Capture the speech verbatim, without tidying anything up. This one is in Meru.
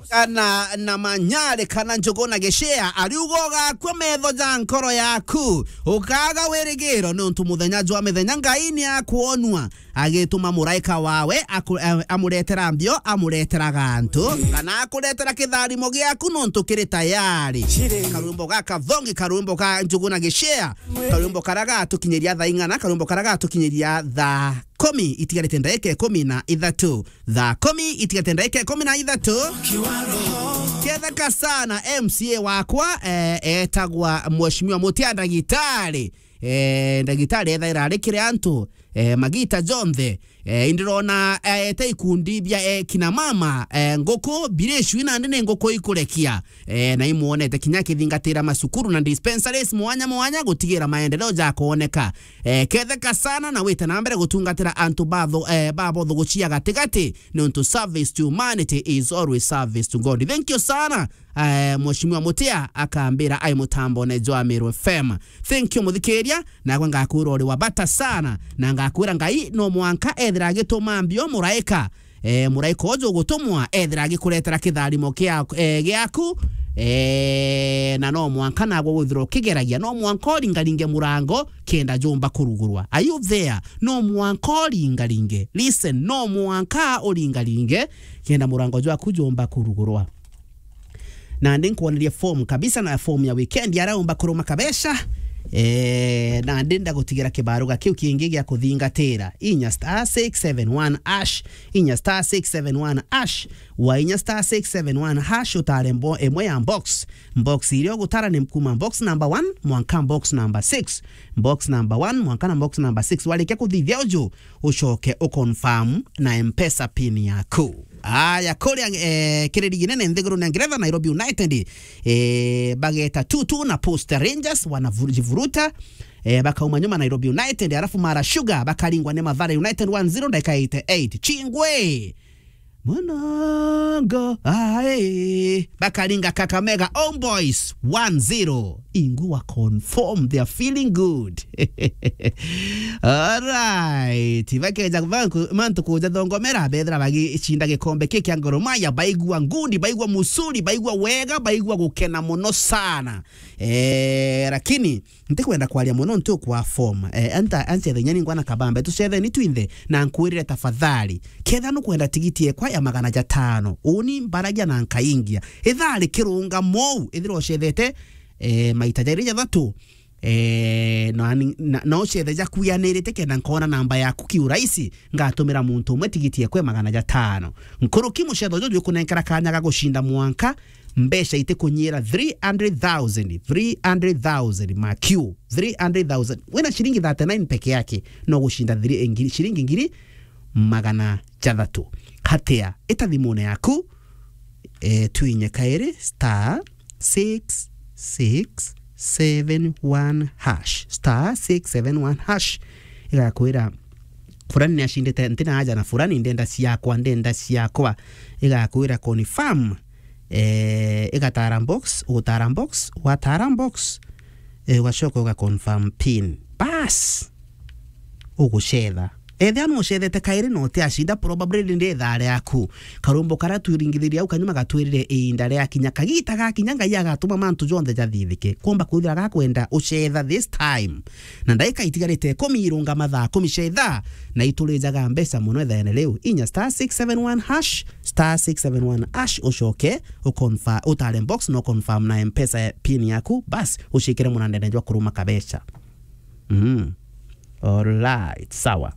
kana na manyare kana njugu na gicea, ariuga ugakua metho ja nkoro yaku, ukaga wirigiro, niuntu muthenya jwa mithenya Ngai ni akwonua agituma muraika wawe aku-, eh, amuretera mbio, amuretera gantu, kana akuretera kitharimo giaku, nontu kiri tayari. Karwimbo ga kathongi, karwimbo ga njugu na gicea, karwimbo karia gatukinyiria thaa ing'ana, karwimbo karia gatukinyiria thaa kumi itigarite ndaika ikumi na ithatu. Thaa kumi itigarite ndaika ikumi na ithatu. Ketheka sana M C A wakwa, eh, etagwa Mheshimiwa Mutia Ndagitari. Eh, ndagitari ethaira ari kiri antu, eh, magita jonthe. Eh, indirona, eh, ete ikundi bia, eh, kina mama, eh, nguku, birecui nandi ni nguku ikurekia. Eh, na imwonete kinya akithingatira macukuru na dispensaries mwanya mwanya gutigira maendeleo jakwoneka. Eh, ketheka sana na wite na mbere gutungatira antu batho-, eh, babotho gucia gatigati, niuntu service to humanity is always service to God. Thank you sana. Eh, Mheshimiwa Mutia akambira ai mutambone jwa Meru F M. Thank you, muthikiria, nagwe ngakwira uri wa bata sana, na ngakwira Ngai no mwanka ethira agituma mbio muraika. Eh, muraika uju ugutumwa ethira agikuretera kitharimo kia-, eh, giaku. Eh, na no mwanka nagwe withirwa ukigeragia, no mwanka uringaringe murango kenda jumba kurugurwa. Are you there? No mwanka uringaringe. Listen, no mwanka uringaringe kenda murango jwaku jumba kurugurwa. Nandi nkwoneria form kabisa, na form ya weekend aria umba kuruma kabeca. Eh, nandi ndagutigira kibaruga kiu kingi gia kuthingatira. Inya star six seven one hash. Inya star six seven one hash. Wa inya star six seven one hash, utare mbo-, imwe ya box. Box iria ugutara ni kuma box number one mwanka box number six. Box number one mwanka na box number six. Warikia kuthithia uju, ucoke uconfirm na M-Pesa pin yaku. Aya, kuria, eh, kiri ligi nene nthiguru na Ngeretha, Nairobi United, eh, bageta two two na Posta Rangers, wanajivuruta, eh, bakauma nyuma Nairobi United, alafu Mara Sugar bakaringwa ni Mathare United one zero, ndagika eighty-eight. Chingwe! Mwanango, ae! Bakaringa Kakamega Homeboys one zero. Ingwe wa confirm, they are feeling good. Alright. Bakeja banku-, mantu kuja thongomera, bethira bagicinda gikombe ki kia Gor Mahia, baigua ngudi, baigua musuri, baigua wega, baigua gukena muno sana. Eh, lakini ntikwenda kwaria muno ntu kwa form. Eh, anta, anti athenya ni ngwana kabambe, tucetheni twinthe, na nkwirire tafadhali. Ketha nukwenda tigiti ekwa ya magana jatano, uni mbaragia na nkaingia. Ithari kirunga mou, ithira ucethete, eh, maita jairi jathatu, eh, na ni-, na, na ucethe jakuyanirite kenda nkona namba yaku kiurahisi, ngatumira muntu umwe tigiti ekwe magana jatano. Nkuruki mucetho juju jukunenkera kanya ga gucinda mwanka mbeca itikunyiira three hundred thousand, three hundred thousand makiu, three hundred thousand. Wina ciringi thirty-nine peke yake, no gucinda three, ngiri, ciringi ngiri magana jathatu. Hatia, ita thimune yaku, eh, twinye kairi star six six seven one hash, star six seven one hash. Igakwira, "Fulani ni acindite, ntina aja na fulani, ndenda ciakwa, ndenda ciakwa." Igakwira confirm, eh, igatara box, ugutara box, watara box, eh, ugacoka uga confirm pin. Bas! Ugucetha. Ethia nucethete kairi na utiacinda, probably ndi ithaa riaku. Karumbo karia twiringithirie au kanyuma gatwirire iinda riakinya, kagita gakinya, Ngai agatuma mantu jonthe jathithike. Kumba kwithira gakwenda ucetha this time. Na ndaika itigarite ikumi irungama thaa kumi cia ithaa, na iturijaga mbeca muno ithaene riu. Inya star six seven one hash, star six seven one hash, ucoke uconfirm, utare box na uconfirm na M-Pesa pin yaku, bas, ucikire munandene jwa kuruma kabeca. Mm. Alright, sawa.